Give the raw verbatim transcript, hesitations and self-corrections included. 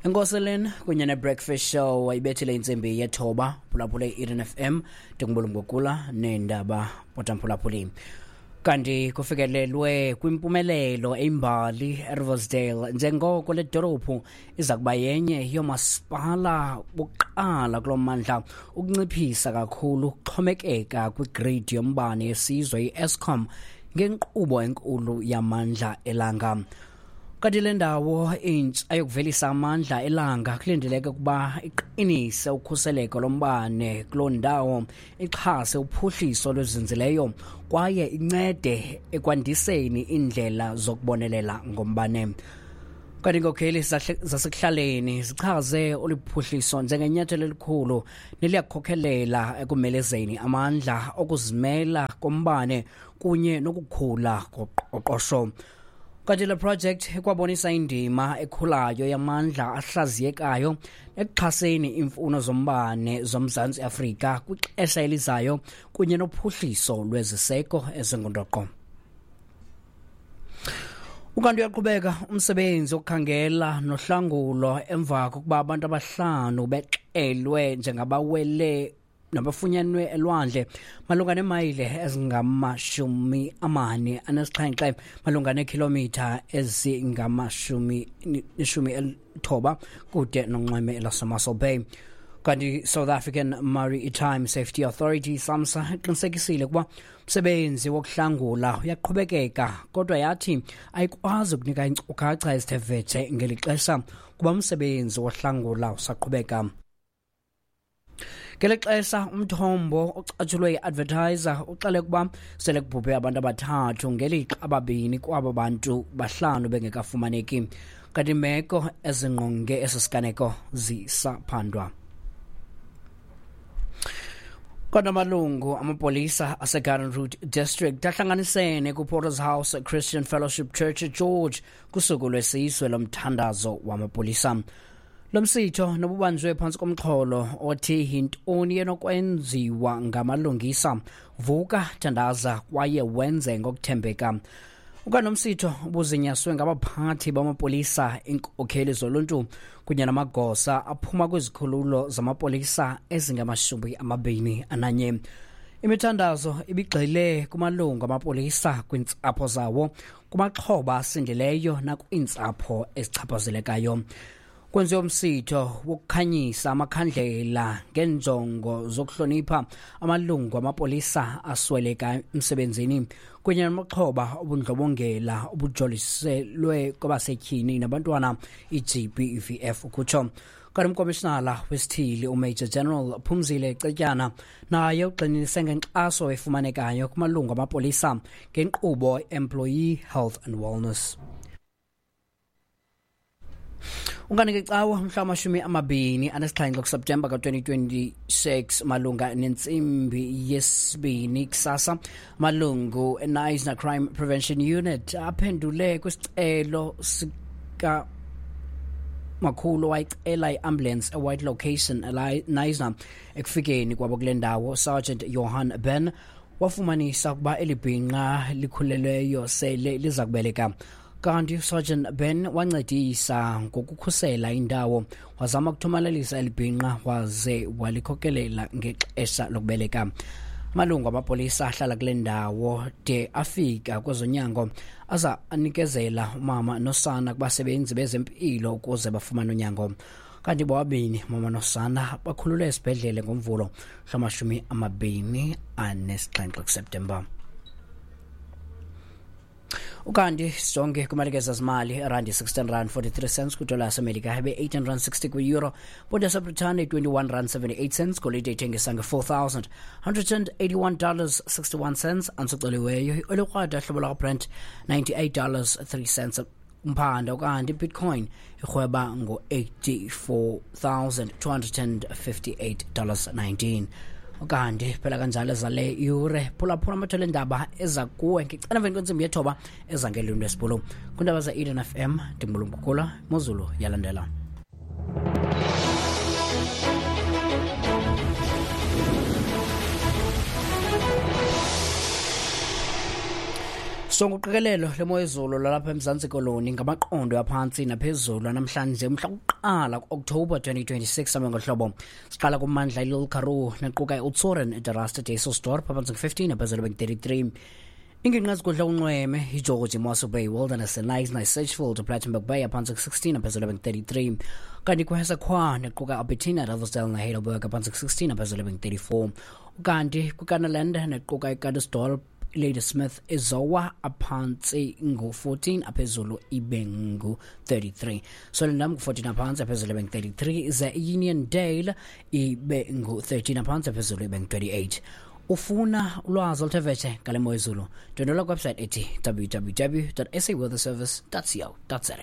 Enkoseleni kunye ne-Breakfast Show ibethile intsimbi yethoba phulaphule i-Eden F M ndingubulungokula neendaba potamphulaphuli. Kanti kufikelelwe kwimpumelelo eyimbali eRiversdale njengoko le dolophu iza kuba yenye yoomasipala bokuqala kulo mmandla ukunciphisa kakhulu ukuxhomekeka kwigridi yombane yesizwe i-Eskom ngenkqubo enkulu yamandla elanga. Kanti le ndawo intsha yokuvelisa amandla elanga kulindeleke ukuba iqinise ukhuseleko lombane kuloo ndawo, ixhase uphuhliso lwezinzileyo kwaye incede ekwandiseni iindlela zokubonelela ngombane. Kanti iinkokheli zasekuhlaleni zichaze olu phuhliso njengenyathelo elikhulu neliyakhokhelela ekumelezeni amandla okuzimela kombane kunye nokukhula koqoqosho. Kanti le project ikwabonisa indima ekhulayo yamandla ahlaziyekayo ekuxhaseni iimfuno zombane zoMzantsi Afrika kwixesha elizayo kunye nophuhliso lweziseko ezingundoqo. Ukanti uyaqhubeka umsebenzi wokukhangela nohlangulo emva kokuba abantu abahlanu bexelwe njengabawele nabafunyanwe elwandle malunga neemayile ezingamashumi amane anesixhenxe malunga neekhilomitha ezingamashumi neshumi elithoba kude nonxweme laseMossel Bay. Kanti South African Maritime Safety Authority SAMSA iqinisekisile ukuba umsebenzi wokuhlangula uyaqhubekeka, kodwa yathi ayikwazi ukunika iinkcukacha ezithe vetshe ngeli xesha kuba umsebenzi wohlangula usaqhubeka. Ngeli xesha umthombo ocatshulwe yi-Advertiser uxele ukuba sele kubhubhe abantu abathathu ngelixa ababini kwabo bantu bahlanu bengekafumaneki. Kanti imeko ezingqonge esi siganeko zisaphandwa. Kodwa amalungu amapolisa aseGarden Route District ahlanganisene kuPorter's House Christian Fellowship Church eGeorge kusuku lwesizwe lomthandazo wamapolisa. Lo msitho nobubanjwe phantsi komxholo othi yintoni enokwenziwa ngamalungisa, vuka, thandaza kwaye wenze ngokuthembeka. Ukanti nomsitho ubuzinyaswe ngabaphathi bamapolisa, iinkokheli zoluntu kunye namagosa aphuma kwizikhululo zamapolisa ezingamashumi amabini ananye. Imithandazo ibigxile kumalungu amapolisa, kwiintsapho zawo, kumaxhoba asindileyo nakwiintsapho ezichaphazelekayo. Kwenziwe umsitho wokukhanyisa amakhandlela ngeenjongo zokuhlonipha amalungu amapolisa asweleka emsebenzini kunye namaxhoba obundlobongela obujoliselwe kwabasetyhini nabantwana i-G B V F ukutsho. Kanti umkomishinala wesithili uMajor General Phumzile Cetyana naye ugxininise ngenkxaso efumanekayo kumalungu amapolisa ngenkqubo Employee Health and Wellness. Unkanti ngecawa mhla wamashumi amabini anesixhenxe kuSeptemba ka-twenty twenty-six malunga nentsimbi yesibini kusasa, malungu eKnysna Crime Prevention Unit aphendule kwisicelo sika makhulu wayicela i-ambulance eWhite Location eKnysna. Ekufikeni kwabo kule ndawo, Sergeant Johan Ben wafumanisa ukuba eli bhinqa likhulelweyo sele liza kubeleka. Kanti uSergeant Ben wancedisa ngokukhusela indawo, wazama ukuthomalalisa eli bhinqa waze walikhokelela ngexesha lokubeleka. Amalungu amapolisa ahlala kule ndawo de afika kwezonyango aza anikezela umama nosana kubasebenzi bezempilo ukuze bafumane unyango. Kanti bobabini mama nosana bakhululwe esibhedlele ngoMvulo mhla amabini anesixhenxe kuSeptemba. Ukanti sijonge kwimalike zezimali, irandi sixteen rand forty-three cents kwidola yaseMelika, ibe eighteen rand sixty kwi-euro, ponto yaseBritane twenty-one rand seventy-eight cents, golide ithengisa nge-four thousand hundred and eighty-one dollars sixty-one cents, antsiceliweyo iolikrwada hlobo lwakwaBrent ninety-eight dollars three cents umphanda. Ukanti iBitcoin irhweba ngo-eighty-four thousand two hundred and fifty-eight dollars nineteen. Ukanti phela kanjalo zale yure phulaphula amathole endaba eza kuwe ngecala emveni kwentsimbi yethoba eza ngelwimi lwesiBhulu. Kwiindaba ze-Eden F M ndingubulumkukula Mozulu yalandela. Sonke uqikelelo lemo yezulu lalapha eMzantsi Koloni ngamaqondo aphantsi naphezulu namhlanje umhla wokuqala ku-October twenty twenty-six ame ngohlobo. Siqala kummandla iLittle Karoo nequka iOudtshoorn, eDarasta, Dysselsdorp aphantsi ngu-fifteen, aphezulu bengu-thirty-three. Ingingqi ezigudla unxweme iGeorge, Mossel Bay, Wilderness, Knysna, Sedgefield, Plettenberg Bay aphantsi ku-sixteen, aphezulu bengu-thirty-three. Kanti kwiHessequa nequka Albertina, Riversdale neHeidelberg aphantsi ku-sixteen, aphezulu bengu-thirty-four. Kanti kwiKannaland nequka iKrugersdorp, Ladysmith, iZowa aphantsi ngu-fourteen, aphezulu ibe ngu-thirty-three. Swellendam ngu-fourteen aphantsi, aphezulu ibe ngu-thirty-three, ze Uniondale ibe ngu-thirteen aphantsi, aphezulu ibe ngu-twenty-eight. Ufuna ulwazi oluthe vetshe ngale mo yezulu, ndwendwela kwiwebsite ethi W W W dot S A weather service dot co dot za.